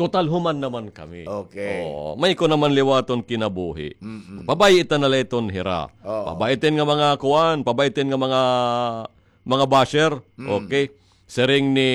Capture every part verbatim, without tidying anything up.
Total human naman kami. Okay. Oo, may ko naman liwaton kinabuhi. Mm-mm. Pabay-i ta na la iton hira. Oo. Pabay-i tin nga mga kuan, pabay-i tin nga mga, mga basher. Mm. Okay. Siring ni,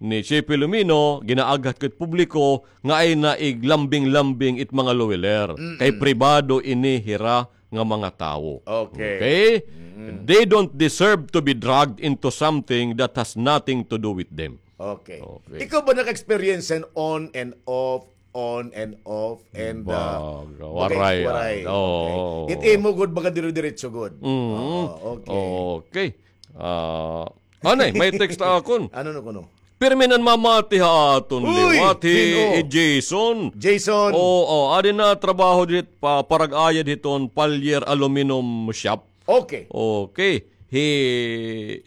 ni Che Filomeno, ginaaghat ko it publiko nga ay na iglambing-lambing it mga luwiler. Mm-mm. Kay pribado ini hira nga mga tawo. Okay. Okay? Mm. They don't deserve to be dragged into something that has nothing to do with them. Okay. Okay. Ikaw ba naka-experience an on and off, on and off, and, uh, Baga, waray, waray. Oo. Okay. It imo gud, baga dire-diretso gud. Mm. Oo, okay. Okay. Ah, anay, may text akon. Ano no kuno? Pirmi nan mamati ha aton liwat, hi, hi Jason. Jason. Oo, adi na trabaho dit pa, parag-ayad hiton Pallier Aluminum Shop. Okay. Okay. Hi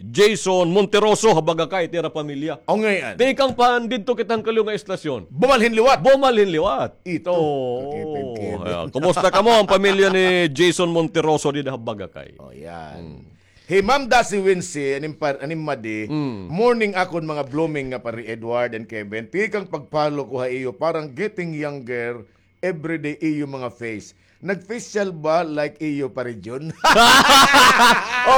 Jason Monteroso, ha Bagakay, it ira pamilya. O, ngay-an. Tikang pa han didto kita han kaliw nga estasyon. Bumalhin liwat. Bumalhin liwat. Ito. Oo. Kakipin-kipin. Ayan. Kumusta kamo, an pamilya ni Jason Monteroso dida ha Bagakay? O, yan. Hmm. Hi Ma'am Dasi Wincy, anim par-, anim madi, Mm. morning akon mga blooming nga pare Edward and Kevin. Tikang pag-follow ko ha iyo, parang getting younger everyday iyo mga face. Nag-facial ba like iyo pare Jun?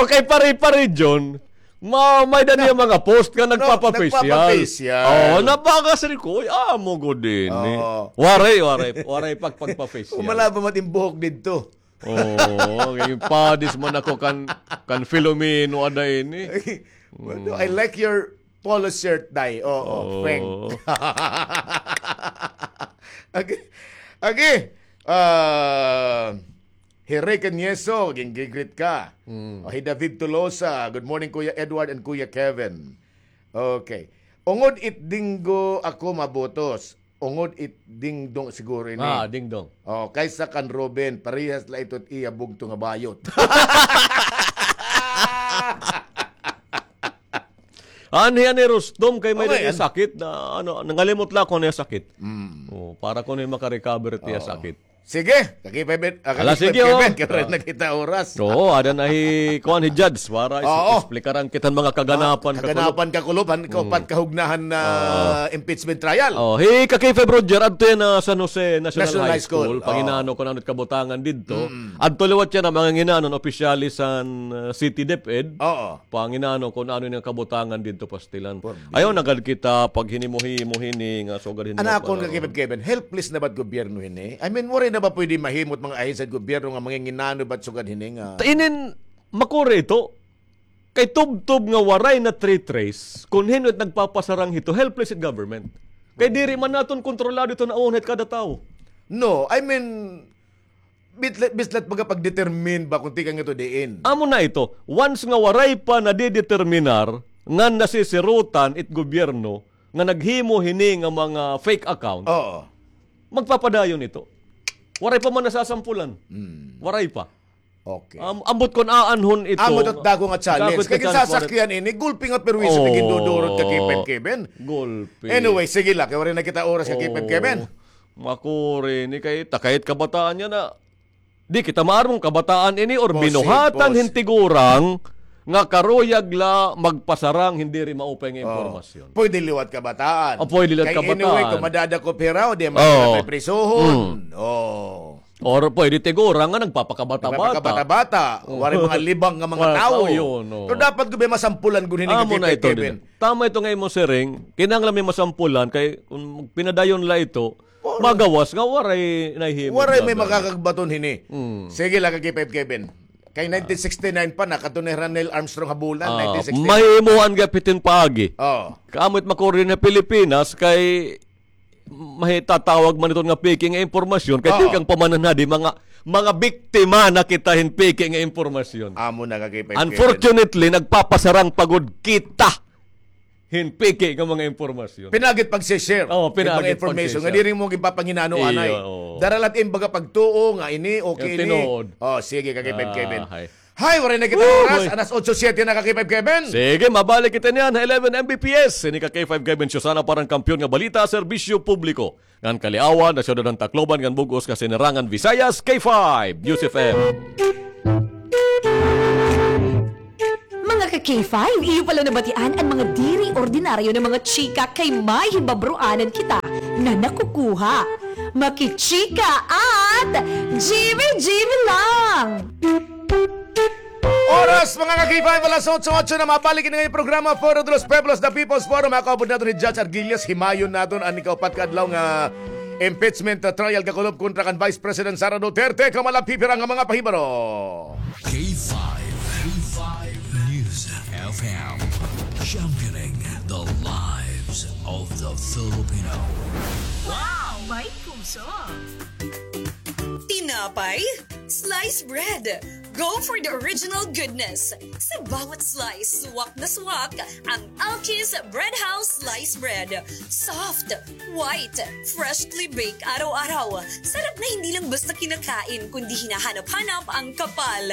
Okay, pare, pare Jun. Ma-, may-ada niya mga post nga nagpapa-facial. Nagpapa-facial. Oo, nabaga, sir ko, uy, amo gud ini. Oo. Waray, waray, waray pag-, pagpa-facial. Umala ba mat im buhok didto? Oo, okay. Padis man ako kan, kan Filomeno ada ini. Well, I like your polo shirt, Day. Oo, oo. Frank. Agi, agi, ah, hi Rick Nieso, ginggigreet ka. Mm. O, hi David Tolosa, "Good morning, Kuya Edward and Kuya Kevin." Okay. Ungod it Dinggo ako mabutos. Ungod it Dingdong siguro ini. Ah, Dingdong. Oh, kaysa kan Ruben, parehas la ito it iya bugto nga bayot. Anhi, anhi, Rustom, kay may sakit na, ano, nangalimot la ako niya sakit. Mm. Oh, para ko niya makarecover it iya sakit. Sige, Ka-K five, ah, Kevin, sige, Kevin, oh. Kaya rin na kita oras. Oo, ada na hi, kuan, hi Judge, para is-, explikaran kita mga kaganapan, kaganapan, kakulob, kakulob, han, mm, kahupat kahugnahan na impeachment trial. Oh, hi Ka-K five Roger, adto yana, ah, San Jose National High School. National High School, oo. Panginano kon ano it kabutangan didto. Mm. Adto liwat yana, mga nginanon, opisyales han, ah, City DepEd. Oo. Panginano kon ano ini nga kabutangan didto pastilan. Ayaw na gad kita paghinimo-himo hini nga sugad hini. An akon, Ka-K five Kevin, helpless na ba it gobyerno hini? I mean, waray na ba pwede mahimo it mga ahensya hit gobyerno nga manginginano ba it sugad hini nga? Ta-, inin, makuri ito. Kay tubtob nga waray na trace kon hin-o it nagpapasarang hito, helpless it government. Kay diri man naton kontrolado ito nga uhon hit kada tawo. No, I mean, Bislat, bislat baga pag-determine ba kon tikang ito diin? Amo na ito. Once nga waray pa nadideterminar ngan nasisirutan it gobyerno nga naghimo hini nga mga fake account, oo, magpapadayon ito. Waray pa man nasasampulan. Hmm. Waray pa. Okay. Am-, ambot kon aanhon ito. Amo ito dako nga challenge. Kay gisasakyan ini, gulpi nga perwisyo it gindudurot, Ka-K five Kevin. Gulpi. Anyway, sige la, kay waray na kita oras, Ka-K five Kevin. Makuri ini kay takay it kabataan yana. Di kita maaram kon kabataan ini or binuhatan hin tigurang nga karuyag la magpasarang hin diri maupay nga impormasyon. Pwede liwat kabataan. O, pwede liwat kabataan. Kay anyway, kon madadakop hira, o di man hira priprisohon. O. Or pwede tigurang nga nagpapakabata-bata. Nagpapakabata-bata. Waray mga libang nga mga tawo. Pero dapat gud may masampulan gud hini, Ka-K five Kevin. Tama ito nga imo siring, kinahanglan may masampulan kay kon pinadayon la ito, magawas nga waray nahimo. Waray may makakagbaton hini. Mm. Sige la, Ka-K five Kevin. Kay nineteen sixty-nine pa, nakadto na hi Neil Armstrong ha bulan, nineteen sixty-nine. Mahimoan gihap hiton paagi. O. Kay amo it makuri ha Pilipinas kay mahitatawag man iton nga peke nga impormasyon, kay tikang pa man hadi mga, mga biktima na kita hin peke nga impormasyon. Amo na, Ka-K five Kevin. Unfortunately, nagpapasarang pa gud kita hin peke nga mga impormasyon. Pinaagi it pagse-share. O, pinaagi it pagse-share. Mga information nga diri mo ginpapanginano anay. Iyo, o. Dara la it im baga pagtuo nga ini, okay ini. Tinuod. O, sige, Ka-K five Kevin. Hay, waray na kita oras. Alas otso siete na, Ka-K five Kevin. Sige, mabalik kita niyan ha eleven M B P S. Ini Ka-K five Kevin Show, sana parang kampiyon nga balita, serbisyo publiko. Ngan kaliawan, ha syudad han Tacloban, ngan bug-os nga sinirangan Visayas, K five, News F M. Mga ka-K five, iyo pala nabatian an mga diri ordinaryo nga mga chika kay may hibabroanan kita. na nakukuha. Makichika at G B G B lang! Oras, mga ka-K five, alas otso, otso na, mabalik ini nga programa, Foro de los Pueblos, The People's Forum. Ako, abot naton ni Judge Arguillas, himayon naton an ikaupat ka adlaw nga impeachment, uh, trial kakulop kontra kan Vice President Sara Duterte. Kamo la pipira nga mga pahibaro. K five, K five News F M, championing the lives of the Filipino. Wow! May puso! Tinapay? Slice bread! Go for the original goodness! Sa bawat slice, swak na swak ang Alki's Bread House Slice Bread. Soft, white, freshly baked araw-araw. Sarap na hindi lang basta kinakain, kundi hinahanap-hanap ang kapal.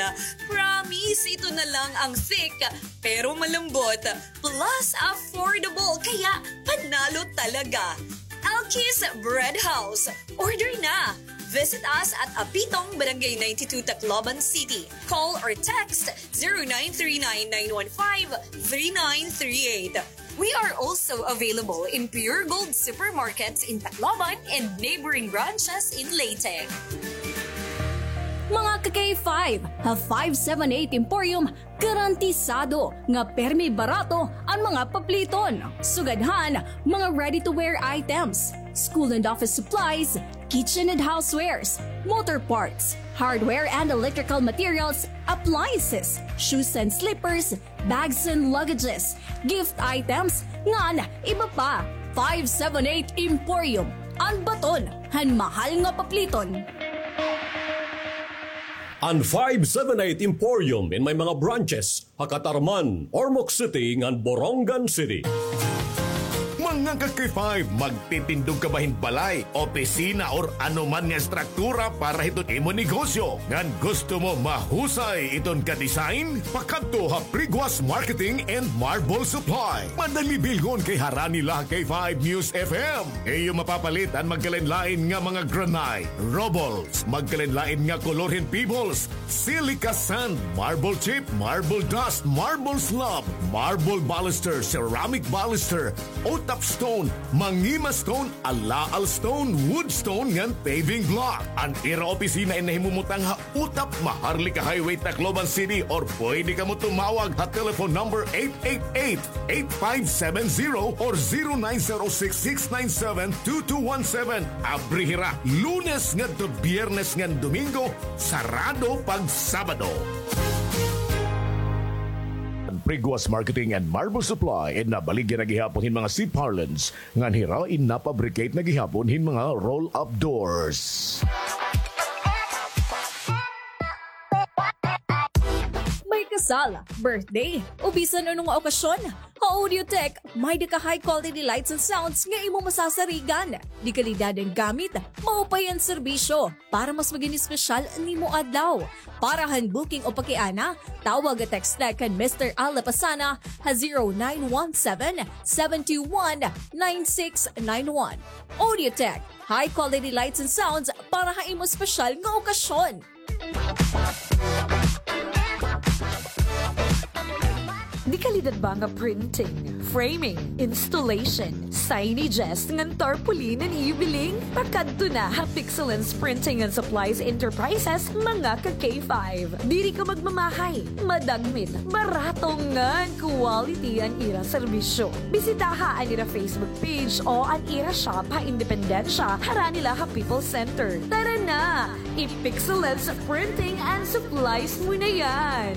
Promise, ito na lang ang thick, pero malambot. Plus, affordable, kaya panalo talaga. Alki's Bread House. Order na! Visit us at Apitong, Barangay ninety-two, Tacloban City. Call or text zero nine three nine, nine one five, three nine three eight. We are also available in Pure Gold supermarkets in Tacloban and neighboring branches in Leyte. Mga ka-K five, ha five seven eight Emporium, garantisado nga permi barato an mga papliton. Sugad han mga ready-to-wear items, school and office supplies, kitchen and housewares, motor parts, hardware and electrical materials, appliances, shoes and slippers, bags and luggages, gift items, ngan iba pa. Five seven eight Emporium, an baton han mahal nga papliton. An five seven eight Emporium in may mga branches ha Catarman, Ormoc City, ngan Borongan City. Mga ka-K five, magtitindog ka ba hin balay, opisina, or ano man nga estruktura para hiton imo negosyo? Ngan gusto mo mahusay iton ka-design? Pakadto ha Priguas Marketing and Marble Supply. Madali bilngon kay harani la ha K five News F M. Iyo mapapalit an magkalain-lain nga mga granite, rubbles, magkalain-lain nga kolor hin pebbles, silica sand, marble chip, marble dust, marble slab, marble baluster, ceramic baluster, utap stone, mangima stone, alaal stone, wood stone, ngan paving block. An ira opisina in nahimumutang ha Utap, Maharlika Highway, Tacloban City, or pwede kamo tumawag ha telephone number eight eight eight, eight five seven zero or zero nine zero six, six nine seven, two two one seven. Abri hira Lunes ngadto Biyernes ngan Domingo, sarado pag Sabado. Priguas Marketing and Marble Supply in nabaligya na gihapon hin mga C-parlance ngan hira in napabricate na gihapon hin mga roll-up doors. May kasal, birthday, o bisan ano nga okasyon, ha Audiotech, may-ada ka high quality lights and sounds nga imo masasarigan. De kalidad an gamit, maupay an serbisyo. Para mas magin espesyal an imo adlaw. Para han booking o pakiana, tawag o text na kan Mister Al Lapasana ha zero nine one seven, seven two one, nine six nine one. Audiotech, high quality lights and sounds para ha imo espesyal nga okasyon. De kalidad ba nga printing, framing, installation, signages, ngan tarpaulin an iyo biling? Pakadto na ha Pixelens Printing and Supplies Enterprises, mga ka-K five. Diri ka magmamahay, madagmit, barato ngan quality an ira serbisyo. Bisitaha an ira Facebook page o an ira shop ha Independencia, harani la ha People's Center. Tara na! I-Pixelens Printing and Supplies mo na yan!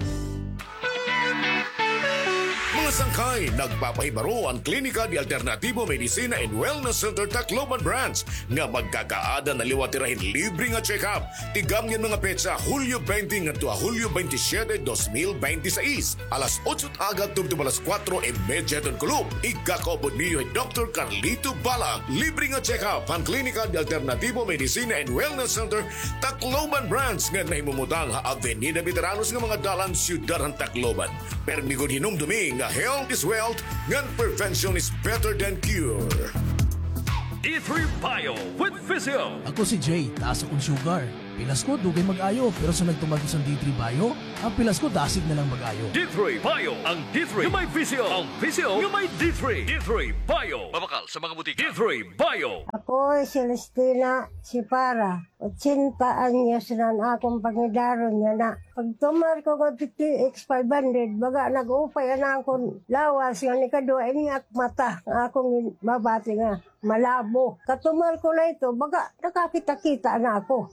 Mga sangkay, nagpapahibaro an Klinika de Alternativo Medicina and Wellness Center Tacloban Branch nga magkakaada na liwat hira hin libre nga check-up. Tigamgi an mga petsa, Hulyo twenty ngadto ha Hulyo twenty-siyete, dos mil bente y seis, alas otso ha aga tubtob alas kuwatro y medya hiton kulop. Igkakaupod niyo hi Doktor Carlito Bala. Libre nga check-up han Klinika de Alternativo Medicina and Wellness Center Tacloban Branch nga nahimumutang ha Avenida Veteranos nga mga dalan, siyudad han Tacloban. Permi gud hinumdumi nga health is wealth, ngan prevention is better than cure. D three Bio with Physio. Ako si Jay, taas akon sugar. Pilas ko, dugay mag-ayo, pero sunod tuman ko san D three Bio, an pilas ko, dasig na lang mag-ayo. D three Bio, ang D three nga may Physio, ang Physio nga may D three. D three Bio. Mabakal sa mga butika. D three Bio. Oy, Celestina, si Para, ochenta anyos na an akon pangidaron niya na. Pagtumar ko nga D T X five hundred, baga nag-upay an akon lawas nga nikaduha, ini ak mata nga akon mabati nga malabo. Katumar ko na ito, baga nakakita-kita na ako.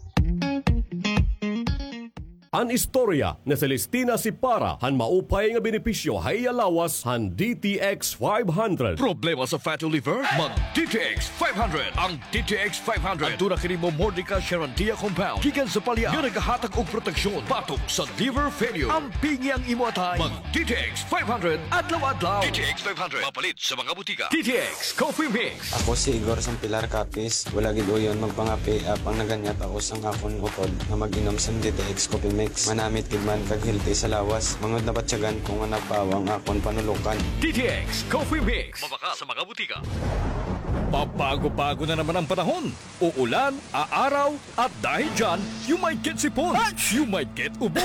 An istorya ni Celestina Sipara han maupay nga benepisyo ha iya lawas han D T X five hundred. Problema sa fatty liver? Mag D T X five hundred. Ang D T X five hundred aduna kini momordica charandia compound gikan sa palya nga nagahatag og proteksyon batok sa liver failure. Ampingi ang imo atay. Mag D T X five hundred adlaw-adlaw. D T X five hundred mapalit sa mga botika. D T X Coffee Mix. Ako si Igor Sampilar Capiz. Wala gid uyon magpangape, apang naganyat ako sang akon utod nga mag-inom sang D T X Coffee Mix. Manamit gid man kag healthy sa lawas. Mangud nabatyagan ko nga nagpawa ang akon panulukan. D T X Coffee Mix. Mabakal sa mga butika. Pabago-bago na naman ang panahon. Uulan, aaraw, at dahil dyan, you might get sipon, you might get ubo,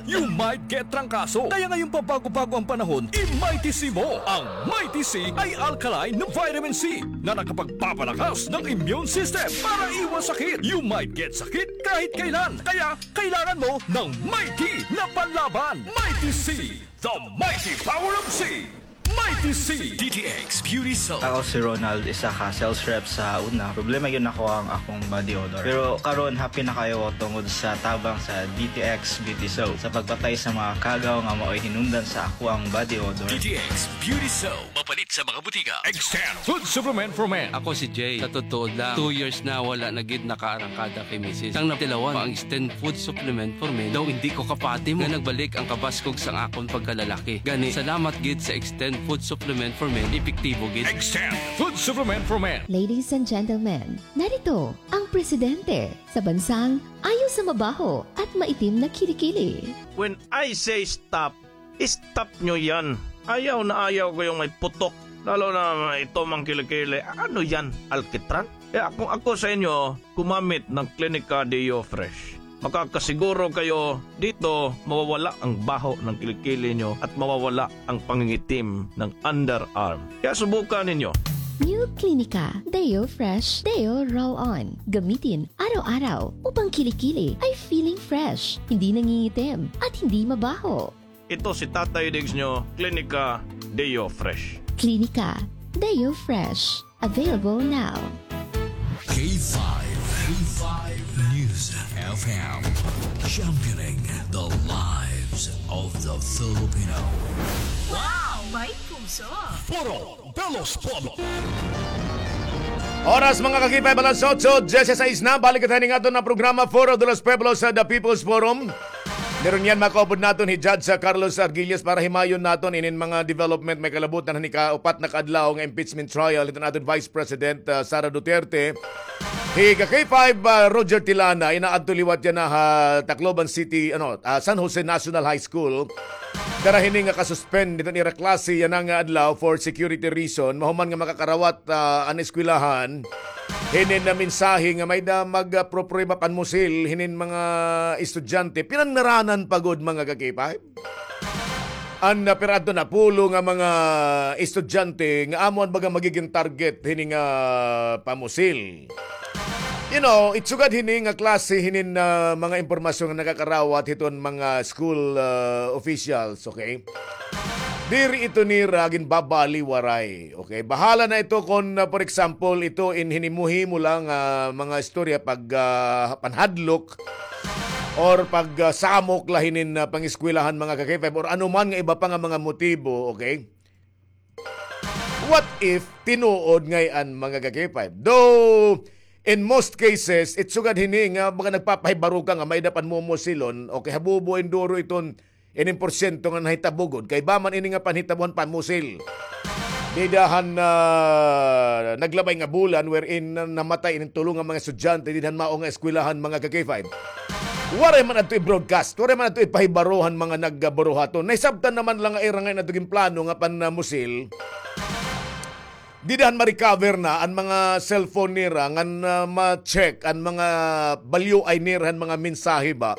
you might get trangkaso. Kaya ngayong pabago-bago ang panahon, i-Mighty C mo. Ang Mighty C ay alkaline na vitamin C na nakapagpapalakas ng immune system para iwas sakit. You might get sakit kahit kailan. Kaya kailangan mo ng Mighty na panlaban. Mighty C, the mighty power of C. Mighty C. D T X Beauty Soap. Ako si Ronald, isa ka sales rep sa una. Problema gyud nako ang akong body odor. Pero karon, happy na kayo tungod sa tabang sa D T X Beauty Soap sa pagpatay sa mga kagaw nga mao'y hinungdan sa ako ang body odor. D T X Beauty Soap. Mapalit sa mga butika. Extend Food Supplement for Men. Ako si Jay. Sa totoo lang, two years na wala na gid nakaarangkada kay misis. Sang natilawan pa ang Extend Food Supplement for Men, daw hindi ko kapati mo nga nagbalik ang kabaskog sang akon pagkalalaki. Gani, salamat gid sa Extend Food Supplement for Men, epektibo gid. Extend Food Supplement for Men. Ladies and gentlemen, narito ang presidente sa bansang ayaw sa mabaho at maitim na kilikili. When I say stop, stop nyo yan. Ayaw na ayaw ko yung may putok. Lalo na ito mang kilikili. Ano yan? Alkitran? Kaya kung ako sa inyo, gumamit ng Clinica Deo Fresh. Makakasiguro kayo dito mawawala ang baho ng kilikili nyo at mawawala ang pangingitim ng underarm. Kaya subukan ninyo. New Clinica Deo Fresh Deo Roll On. Gamitin araw-araw upang kilikili ay feeling fresh, hindi nangingitim, at hindi mabaho. Ito si Tatay Diggs nyo, Clinica Deo Fresh. Clinica Deo Fresh. Available now. K five, K five News F M, championing the lives of the Filipino. Wow! May puso! Foro de los Pueblos. Oras, mga ka-K five, alas otso dieciséis na. Balik kita ning aton na programa, Foro de los Pueblos, sa The People's Forum. Meron yan, makaupod naton hi Judge, ah, Carlos Arguillas para himayon naton inin mga development may kalabutan han ika-upat na kaadlaw nga impeachment trial hiton aton Vice President, ah, Sara Duterte. Hi ka-K five, ah, Roger Tilana, inaadto liwat yana ha Tacloban City, ano, ah, San Jose National High School. Dara hini nga ka-suspend hiton ira klase yana nga adlaw for security reason, mahuman nga makakarawat, ah, an eskwelahan hinin na mensahe nga may-ada magproprueba panmusil hinin mga estudyante. Pinangnaranan pa gud, mga ka-K five. An, ah, pira adto napulo nga mga estudyante nga amo an baga magiging target hini nga pamusil. You know, it sugad hini nga klase hinin, ah, mga impormasyon nga nakakarawat hiton mga school, ah, officials, okay? Diri ito nira ginbabaliwaray, okay? Bahala na ito kon, ah, for example, ito in hinimo-himo lang, ah, mga istorya pag, ah, panhadlok or pag, ah, samok la hinin, ah, pangeskwelahan, mga ka-K five, or ano man nga iba pa nga mga motibo, okay? What if tinuod ngay-an, mga ka-K five? Though, in most cases, it sugad hini nga baga nagpapahibaro ka nga may-ada panmumusilon, okay, habubo in duro iton inin porsyento nga nahitabo gud. Kay ba man ini nga panhitabo han panmusil? Dida han, ah, naglabay nga bulan wherein, ah, namatay inin tulo nga mga estudyante dida han mao nga eskwelahan, mga ka-K five. Waray man adto i-broadcast, waray man adto ipahibaro han mga nagburuhaton. Nahisabtan naman la nga ira ngay-an adto ginplano nga panmusil. Dida han ma-recover na an mga cellphone nira ngan, ah, ma-check an mga balyoay nira han mga mensahe ba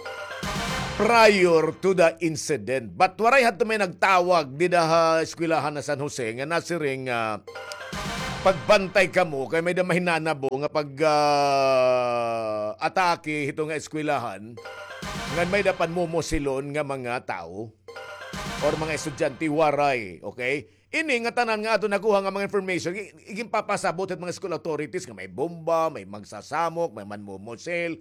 prior to the incident. But waray hadto may nagtawag dida ha eskwelahan ha San Jose nga nasiring, ah, pagbantay kamo kay may-ada mahinanabo nga pag, ah, atake hito nga eskwelahan ngan may-ada panmumusilon nga mga tawo or mga estudyante, waray, okay? Ini nga tanan nga aton nakuha nga mga information, i-, iginpapasabot hit mga school authorities nga may bomba, may magsasamok, may manmumusil,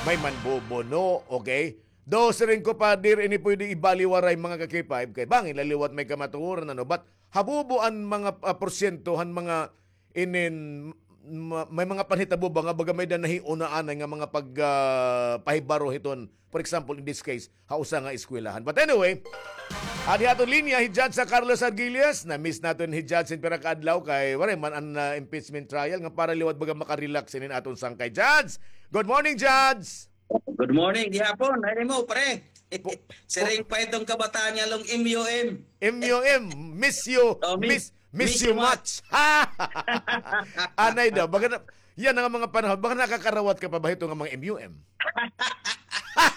may manbubuno, okay? Daw siring ko, Pader, ini pwede ibaliwaray, mga ka-K five, kay bangin la liwat may kamatuoran, ano, but habubo an mga, ah, porsyento han mga inin, ma-, may mga panhitabo ba nga baga may-ada nahiuna anay nga mga pag, ah, pahibaro hiton, for example, in this case, ha usa nga eskwelahan. But anyway, adi ha aton linya hi Judge sa Carlos Arguelles. Na-miss naton hi Judge hin pira ka adlaw kay waray man an, ah, impeachment trial nga para liwat baga makarelax inin aton sangkay. Judge! Good morning, Judge! Good morning, gihapon. Ano mo, pre? Siring pa iton kabataan nga long M U M. M U M, miss you, oh, miss, miss you much. Anay daw, baga na, yana nga mga panahon, baga nakakarawat ka pa ba hito nga mga M U M?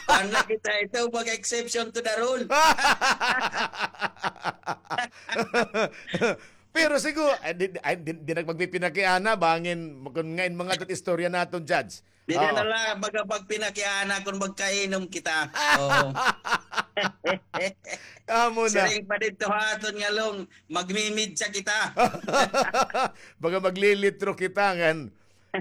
Ano kita ito, baga exception to the rule. Pero siguro, ay, di, ay, di, di na magpipinakiana, bangin, kun ngain mga dat istorya naton, Judge. Di na la, baga pagpinakiana kun magkainom kita. Oo. Amo na. Siring pa didto ha aton nga long, magmimidya kita. Baga maglilitro kita, ngan.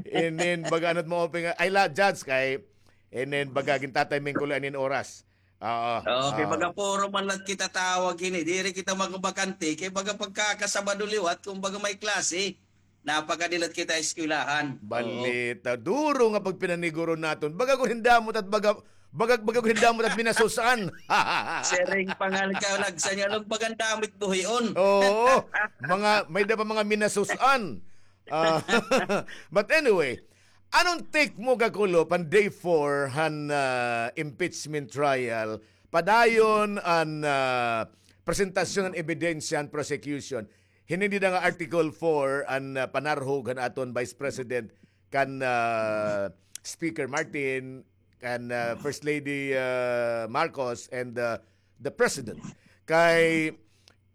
Inin, baga ano't maupay nga, ay la, Judge, kay, inin, baga gintatiming ko la inin oras. Oo. Okay, baga puro man la kita tawag hini. Diri kita magbakanti. Kay baga pagkakasabado liwat, kun baga may klase, napakadilat kita eskwelahan. Balita. Duro nga pagpinaniguro naton. Baga kun hindamot at baga, baga, baga kun hindamot at minasus-an. Siring pa nga kalagsan niya, baga hindamot buhion. Oo. Mga, may-ada pa mga minasus-an. Ah, but anyway, Ano an take mo, Kakulop, han day four han, ah, impeachment trial? Padayon an, ah, presentasyon han ebidensya han prosecution. Hini dida nga Article four an, ah, panarhog han aton Vice President kan, ah, Speaker Martin, kan, ah, First Lady, ah, Marcos, and, ah, the President. Kay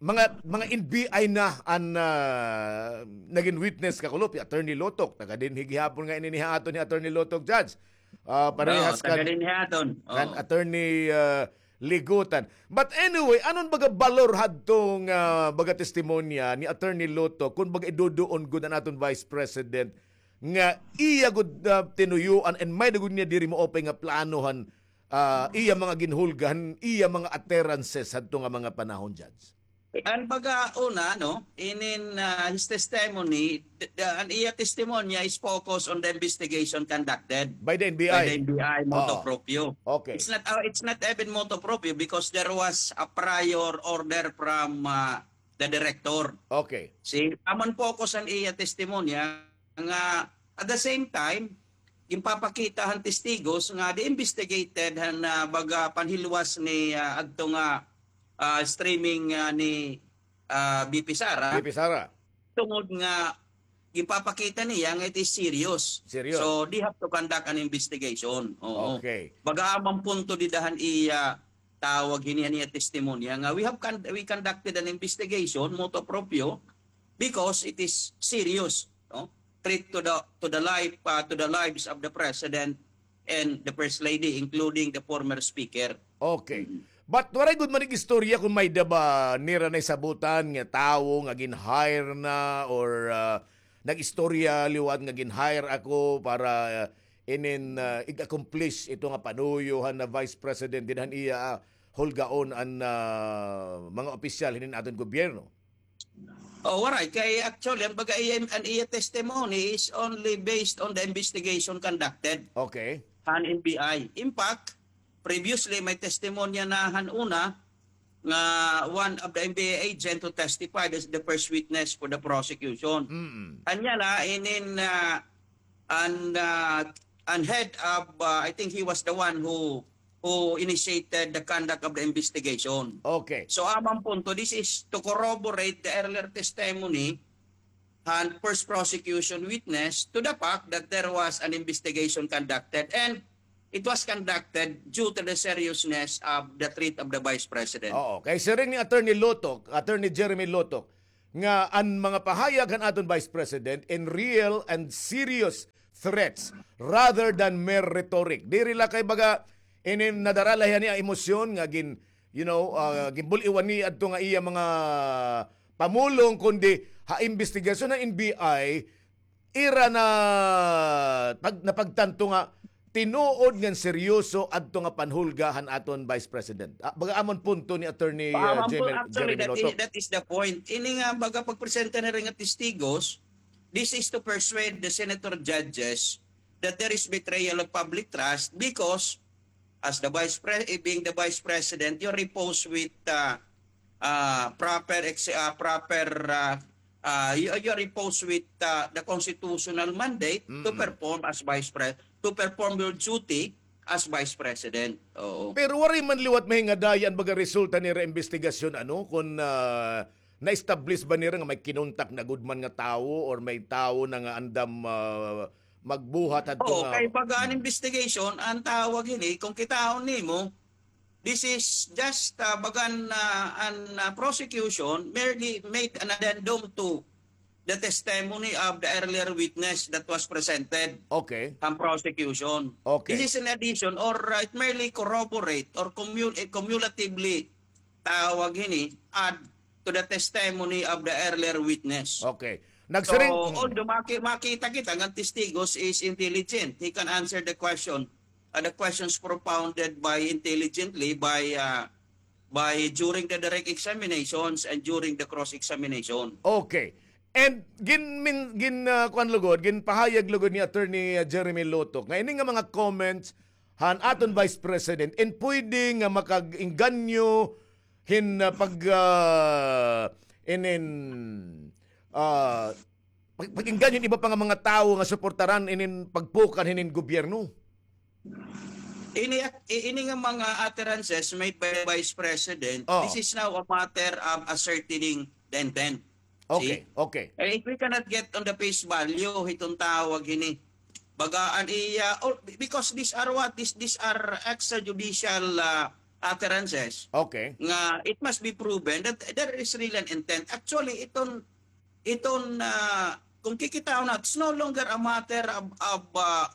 mga, mga N B I na an, ah, nagin witness, Kakulop, hi Attorney Lotoc, taga dinhi gihapon nga ini ha aton hi Attorney Lotoc, Judge. Ah, parehas kan, taga dinhi ha aton. Oo. Kan Attorney, ah, Ligutan. But anyway, ano an baga balor hadto nga, ah, baga testimonya ni Attorney Lotoc kun baga iduduon gud an aton Vice President nga iya gud, ah, tinuyoan and may-ada gud niya diri maupay nga plano han, ah, iya mga ginhulga han iya mga utterances hadto nga mga panahon, Judge? An baga una, no, inin, ah, his testimony, the, the, an iya testimonya is focused on the investigation conducted by the N B I. By the N B I, motu proprio. Okay. It's not, ah, it's not even motu proprio because there was a prior order from, ah, the director. Okay. See, amo an focus an iya testimonya, nga at the same time, ginpapakita han testigos nga they investigated han, ah, baga panhilwas ni, ah, adto nga, ah, streaming, ah, ni, ah, V P Sara. V P Sara. Tungod nga ginpapakita niya nga it is serious. Serious. So, they have to conduct an investigation. Oo. Okay. Baga amo an punto dida han iya tawag hini han iya testimonya nga we have con-, we conducted an investigation, motu proprio, because it is serious, no? Threat to the, to the life, uh, to the lives of the president and the first lady, including the former speaker. Okay. Mm. But waray gud man ig-istorya kon may-ada ba nira nahisabotan nga tawo nga gin-hire na or, ah, nag-istorya liwat nga gin-hire ako para, ah, inin, ah, ig-accomplish ito nga panuyo han, ah, vice president dida han iya, ah, hulgaon an, ah, mga opisyal hinin aton gobyerno. Oh, waray. Kay actually, an baga iya, an iya testimony is only based on the investigation conducted, okay, han N B I. In fact, previously, may testimonya na han una nga one of the N B I agent who testified as the first witness for the prosecution. Mm. Anya la, inin, ah, an, ah, an head of, ah, I think he was the one who who initiated the conduct of the investigation. Okay. So, amo an punto, this is to corroborate the earlier testimony han first prosecution witness to the fact that there was an investigation conducted and it was conducted due to the seriousness of the threat of the vice president. Oo. Kay siring ni Attorney Lotoc, Attorney Jeremy Lotoc, nga an mga pahayag han aton Vice President in real and serious threats rather than mere rhetoric. Diri la kay baga inin nadara la hiya ni emosyon nga gin, you know, ah, ginbul-iwan ni adto nga iya mga pamulong, kundi ha imbestigasyon han N B I, ira na pag, napagtanto nga tinuod ngan seryoso adto nga panhulga han aton Vice President. Ah, baga amo an punto ni Attorney, ah, Jeremy, actually, Jeremy that is, Lotok. That is the point. Ini nga baga pagpresenta nira nga testigos, this is to persuade the senator judges that there is betrayal of public trust because as the vice pre-, eh, being the vice president, you repose with, uh, uh, proper ex-, uh, proper, uh, uh, you, you repose with, uh, the constitutional mandate to perform as vice pre-, to perform your duty as vice president. Oo. Pero waray man liwat mahingadaya an baga resulta nira imbestigasyon, ano, kun, ah, na-establish ba nira nga may kinontak na gud man nga tawo or may tawo na nga andam, ah, magbuhat hadto nga. Oo, kay baga an investigation, an tawag hini, kung kitaon nimo, this is just, ah, baga an, ah, an, ah, prosecution merely made an addendum to the testimony of the earlier witness that was presented. Okay. An prosecution. Okay. This is an addition or, uh, it merely corroborate or cumul-, eh, cumulatively tawag hini, add to the testimony of the earlier witness. Okay. So, although maki-, makita kita nga testigos is intelligent, he can answer the question, uh, the questions propounded by intelligently by, uh, by during the direct examinations and during the cross-examination. Okay. And gin-, min-, gin-, ah, kuan lugod, ginpahayag lugod ni Attorney, ah, Jeremy Lotok nga ini nga mga comments han aton Vice President in pwede nga makag-engganyo hin, ah, pag, ah, inin, ah, pag-, pag-engganyo hin iba pa nga mga tawo nga suportaran inin pagpukan hinin gobyerno. Ini, ini nga mga utterances made by the Vice President, this is now a matter of ascertaining the intent. Okay, okay. Eh, we cannot get on the face value hiton tawag hini. Baga an iya, oh, because these are what? These, these are extrajudicial, uh, utterances. Okay. Nga it must be proven that there is really an intent. Actually, iton iton, ah, kung kikitaon naton, it's no longer a matter of, of, ah,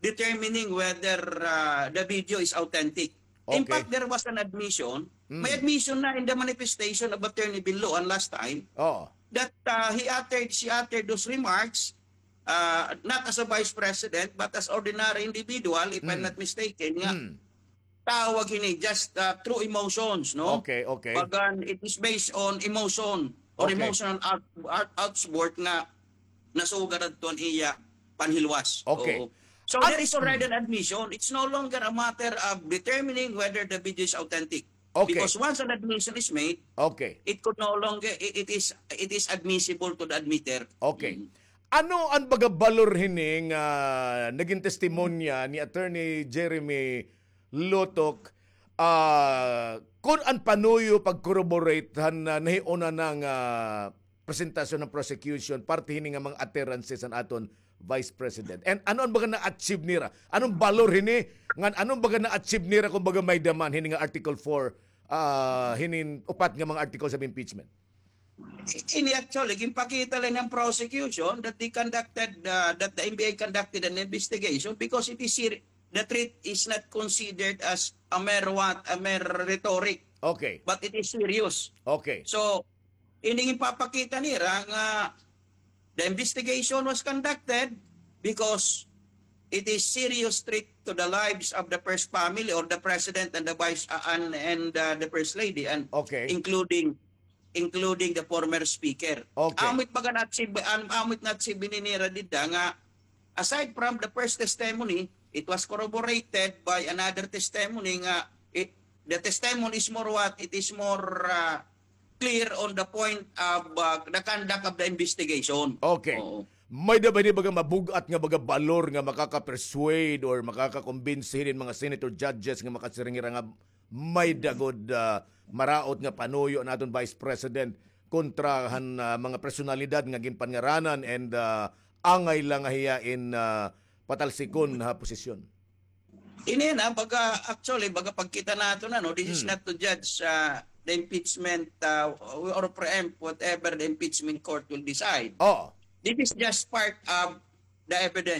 determining whether, ah, the video is authentic. In fact, there was an admission. May admission na in the manifestation of Attorney Binloan last time that, ah, he uttered, she uttered those remarks, ah, not as a vice president, but as ordinary individual, if I'm not mistaken, nga tawag hini, just, uh, through emotions, no? Okay, okay. Bagan, it is based on emotion or emotional out-, out-, outburst nga nasugad adto an iya panhilwas. Okay. Oo. So, there is already an admission. It's no longer a matter of determining whether the video is authentic. Okay. Because once an admission is made, it could no longer, it, it is, it is admissible to the admitter. Okay. Ano an baga balor hini nga nagin testimonya ni Attorney Jeremy Lotok, ah, kun an panuyo pag-corroborate han, ah, nahiuna na nga presentasyon han prosecution, parte hini nga mga utterances han aton Vice President? And ano an baga na-achieve nira? Anong balor hini? Ngan anong baga na-achieve nira kung baga may-ada man hini nga Article four, ah, hinin upat nga mga articles of impeachment? Ini actually, ginpakita la hin prosecution that they conducted, uh, that the N B I conducted an investigation because it is ser-, the threat is not considered as a mere what, a mere rhetoric. Okay. But it is serious. Okay. So, ini ginpapakita nira nga the investigation was conducted because it is serious threat to the lives of the first family or the president and the vice, uh, and, and, uh, the first lady, and including including the former speaker. Okay. Amo it baga na-achieve, am-, amo it na-achieve hini nira dida nga, aside from the first testimony, it was corroborated by another testimony nga it, the testimony is more what? It is more, uh, clear on the point of, uh, the conduct of the investigation. Okay. Oo. May-ada ba hini baga mabug-at nga baga balor nga makaka-persuade or makaka-convince hinin mga senator judges nga makasiring hira nga may-ada gud, ah, maraot nga panuyo an aton Vice President kontra han, ah, mga personalidad nga ginpanngaranan and, ah, angay la nga hiya in, ah, patalsikon ha posisyon? Ini na, baga, actually, baga pagkita naton, ano, this is not to judge, ah, the impeachment uh, or preempt whatever the impeachment court will decide. Oo. This is just part of the evidence.